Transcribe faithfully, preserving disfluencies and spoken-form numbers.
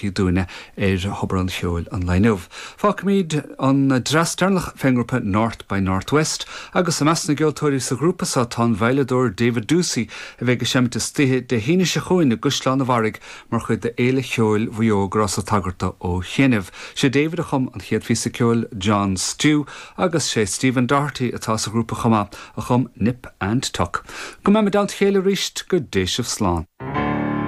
dúinne ar Thobar an Cheoil an lae inniu. Fágfaimid an dreas deireanach fén ngrúpa North by Northwest agus i measc na gceoltóirí sa ghrúpa seo tá an veidhleadóir David Doocey a bheidh ag seinm istoíche Dé hAoine seo chugainn i gCaisleán an Bharraigh mar chuid de Fhéile Cheoil Mhaigh Eo go rabhas ag tagairt dó ó chianaibh. Sé David a chum an chéad phíosa ceoil John Stew agus sé Stephen Doherty atá sa ghrúpa chomh maith a chum Nip and Tuck. Go mbeimid i dteannta a chéile arís go dté sibh slán.